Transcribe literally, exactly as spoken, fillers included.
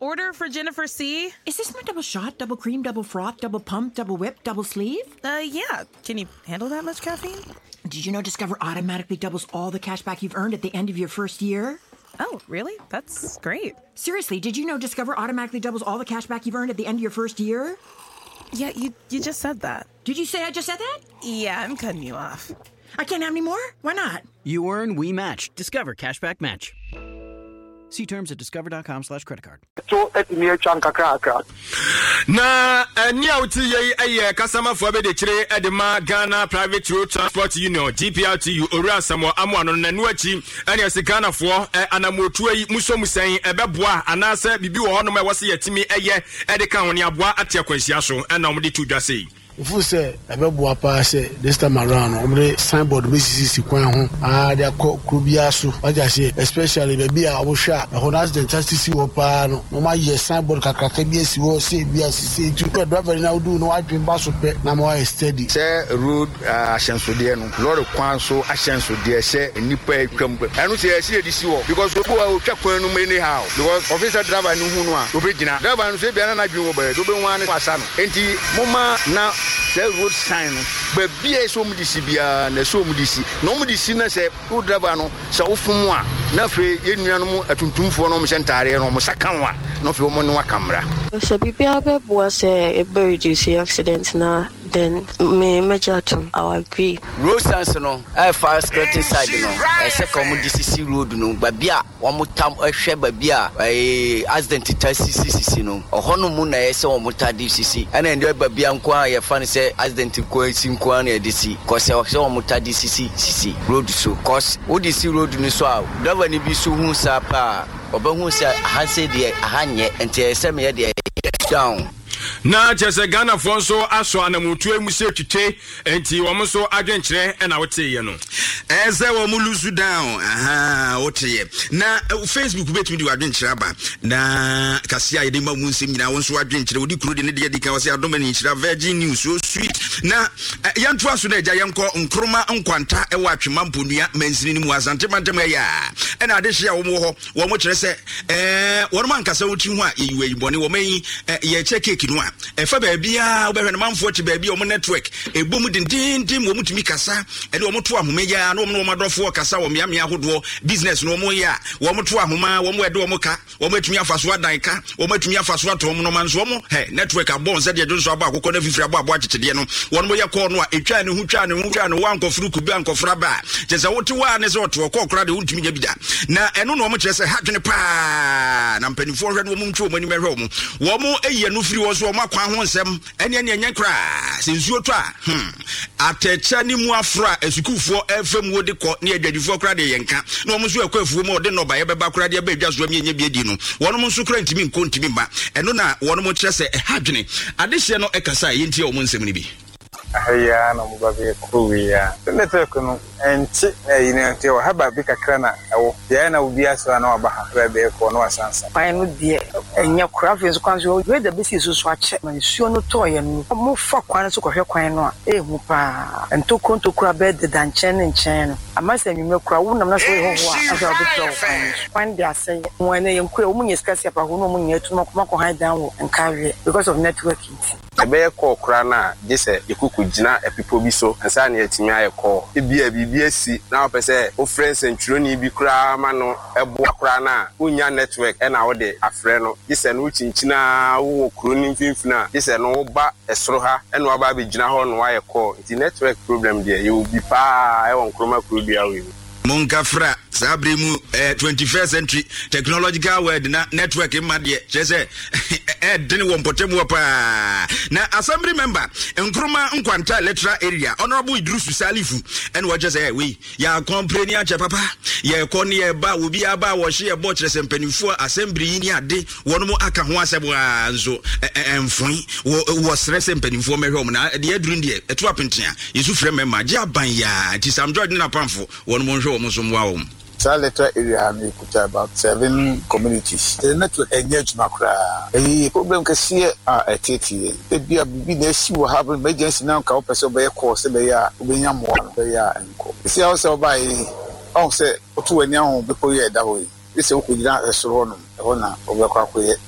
Order for Jennifer C. Is this my double shot, double cream, double froth, double pump, double whip, double sleeve? Uh, yeah. Can you handle that much caffeine? Did you know Discover automatically doubles all the cash back you've earned at the end of your first year? Oh, really? That's great. Seriously, did you know Discover automatically doubles all the cash back you've earned at the end of your first year? Yeah, you you just said that. Did you say I just said that? Yeah, I'm cutting you off. I can't have any more? Why not? You earn, we match. Discover Cashback Match. See terms at discover dot com slash credit card. To atumi atwa nkakrakra. Na ɛni a wote yɛ yi yɛ kasamafoɔ bɛde kyerɛ de ma Ghana Private Road Transport Union, G P R T U, Owura Samuel Amoa no. N'ano akyi ɛne ɛsɛ Ghanafoɔ anamotuo yi muso mu sɛn ɛbɛboa anaasɛ biribi wɔ hɔnom a ɛwɔ sɛ yɛtumi ɛyɛ ɛde ka ho ne aboa ate akwanhyia so, ɛna wɔde to dwa sei. Nfu sɛ ɛbɛboa paa sɛ this time around no, wɔde signboard bɛsisisi kwan ho aa de akɔ kuro biara so wagye aseɛ, especially baabi a wɔhwɛ a ɛhɔ no accident asisi hɔ paa no, na wɔayɛ signboard kakraka bi asi hɔ sɛ ebi asisi nti kɔ driver no a wodu no wadwen ba so pɛ na ma wayɛ steady. Sɛ road ahyɛnsodeɛ no, lɔre kwan so ahyɛnsodeɛ sɛ nnipa atwam, ɛno sɛ yɛsi yɛde si hɔ because obi wa otwa kwan no mu anyhow, because officer driver no hu no a obɛgyina, driver no so ebia na n'adwene wɔ baabi, wobɛhu ara ne wasa no. Enti momma na sɛ road sign no, baabi a ɛsɛ ɔmo de si biara na ɛsɛ ɔmo de si, na ɔmo de si na sɛ wo driver no sɛ wofom a, na afei yɛn nuanom atuntumfoɔ no, ɔmo hyɛ ntaareɛ no, ɔmo sa ka ho a, na afei ɔmo ne waka mmara. Sɛ biribiara bɛboa sɛ ɛbɛ reduce accident na then me mɛgye atom, I will agree. Road signs no ɛfa skirting side no, ɛsɛ ka wɔn de sisi road no baabi a wɔn tam ɛhwɛ baabi a ɛɛ accident ta sisi sisi no, ɔhɔ no mu na ɛyɛ sɛ wɔn ta de sisi, ɛna ɛdeɛ baabi a nko a yɛfa no sɛ accident nko esi nko a na yɛde si kɔsɛ sɛ wɔn ta de sisi sisi road so, cause wode si road no so a, driver no bi so hu saa paa, ɔbɛhu sɛ aha sɛ deɛ aha nyɛ, nti ɛyɛ sɛ meyɛ deɛ down. Na kyerɛ sɛ Ghanafoɔ nso asɔ anamotuo mu sɛ twitwe, nti wɔn nso adwenkyerɛ ɛna woteeɛ no. Ɛɛ sɛ wɔn mo loose down aha woteɛ na Facebook bɛtumi de wadwenkyerɛ aba na kase a yɛde ma mu nsɛm nyinaa, wo nso wadwenkyerɛ wodi kuro de ne deɛ di kan wɔ sɛ adom ani nhyira Virgin News, so sweet. Na yɛntoa so no, agya, yɛnkɔ Nkroma Nkwanta ɛwɔ Atwema Mponua mansini no mu, Asante mantam. Ɛyɛ a ɛna adehye a wɔn wɔ hɔ, wɔn kyerɛ sɛ ɛɛ wɔn ankasa wɔn tiri ho a yɛyi wɔ bɔne wɔn ayi yɛkyɛ cake no a ɛfa baabiara wobɛhwɛ no, manfoɔ te baabi a wɔn network ɛbɔ mu dendenden, wɔn tumi kasa ɛne wɔn to ahoma yi a na wɔn ne wɔn adɔfoɔ kasa wɔ mmeammea ahodoɔ. Business no wɔn yɛ a, wɔn to ahoma, wɔn ɛde wɔn ka, wɔn atumi afa so adan ka, wɔn atumi afa so atɔn nɔɔma nso wɔn hɛ network abɔ nsɛ deɛ dwonso abɔ akokɔ na fifiri abɔ abɔ akyekyedeɛ no. Wɔn yɛ kɔɔ no a etwa ne ho, twa ne ho, twa ne ho, ankɔforo kube ankɔforo aba a kyerɛ sɛ wote hɔ a ne sɛ ɔte ɔkɔɔ koraa deɛ wontumi nya bi da. Na ɛno na wɔn kyerɛ sɛ ha dwene paa, na mpanimfoɔ hwɛ no, wɔn ntwe wɔn anim hwɛ wɔn wɔn ayi ɛno firi wɔn so. Wɔn akwan ho nsɛm ɛne ɛne ɛnyɛ koraa sɛ nsuo tɔ a, hmm atɛkyɛ ne mu aforo a asukuufoɔ ɛfɛ mu de kɔ ne adwadifoɔ koraa deɛ yɛnka, na wɔn nso ɛkɔ afuo mu a ɔde nnɔbaeɛ bɛba koraa deɛ ɛbɛ adwa so ɛmi ɛnyɛ bi adi no, wɔn nso koraa ntumi nkɔ ntumi mma. Ɛno na wɔn kyerɛ sɛ ɛha dwene. Adehyeɛ no ɛkasa a yɛntie wɔn nsɛm no bi. Aha yi ara na ɔmo ba bɛyɛ kuro wei a network no ɛnkye na ɛyi no nti ɛwɔ ha baabi kakra na ɛwɔ deɛ na obi asɔ a na waba ha bɛɛ bɛyɛ kɔɔ na wasansa. Kwan no deɛ ɛnyɛ kora. Afei nso kwan so weda bɛsi so so akyɛ ma nsuo no tɔɔyɛ no, mofa kwan no so kɔhwɛ kwan no a, ɛɛhu paa, ntokuro ntokuro a bɛyɛ deda nkyɛn ne nkyɛn no ama sɛ anwummerɛ kora wonam na sɛ woyɛ hɔhoɔ a, afei wobɛpira wɔ kwan no so. Kwan de asɛe wɔn ɛnɛ yɛn kura wɔn nyɛ sika si apaho na wɔn nyɛ atum akɔma kɔ han dan wɔ nkareɛ because of network nti. Ɛbɛyɛ call koraa no a, gye sɛ yɛkɔkɔ gyina ɛpepɔ bi so ansa na yɛatumi ayɛ call. Ebia biribi asi na wopɛ sɛ wofrɛ nsɛntwerɛni bi koraa ma no ɛboa koraa no a, wonnya network ɛna wode afrɛ no, gye sɛ no wokyinkyinaa wowɔ kuro no mfimfini a, gye sɛ no woba ɛsoro ha ɛna waba abɛgyina hɔ na wayɛ call. Nti network problem deɛ, yɛwɔ bi paa ɛwɔ Nkroma kurodua wei mu. Monka fra saa bere mu eh, twenty-first century technological world na network mma deɛ kyerɛ sɛ ɛdene wɔ mpɔtam wɔ paa. Na assembly member Nkroma Nkwanta electoral area, Honorable Idrusu Salifu, ɛne wɔkyerɛ sɛ wei yɛakɔmpere ne akyɛ papa, yɛkɔ ne yɛba, obi aba a wɔhye yɛbɔ kyerɛ sɛ mpanimfoɔ assembly yi ne ade wɔn mo aka ho asɛm a nso ɛmfoe. Wɔsrɛ sɛ mpanimfoɔ mɛhwɛ wɔn na deɛ aduru deɛ ɛto apenten a yɛsu frɛ mmarima gye aban yaa, nti Sam George ne napamfo wɔn mo nhwɛ wɔn so mmoa wɔn. Saa electoral area ha no yɛkuta about seven communities. The network ɛnyɛ adwuma koraa. Ɛyɛ problem kɛseɛ a ɛtete yɛn. Ebia biribi na asi wɔ ha, emergency na nka wopɛ sɛ wobɛyɛ call sɛ bɛyɛ a wobɛnya mmoa no, bɛyɛ a nkɔ. Ɛsi a wo sɛ wobaeɛ yi, ɔhu sɛ woto w'ani aho bepɔ yi a ɛda hɔ yi, gye sɛ wokɔgyina ɛsoro hɔnom, ɛhɔ na wobɛkɔ akɔyɛ.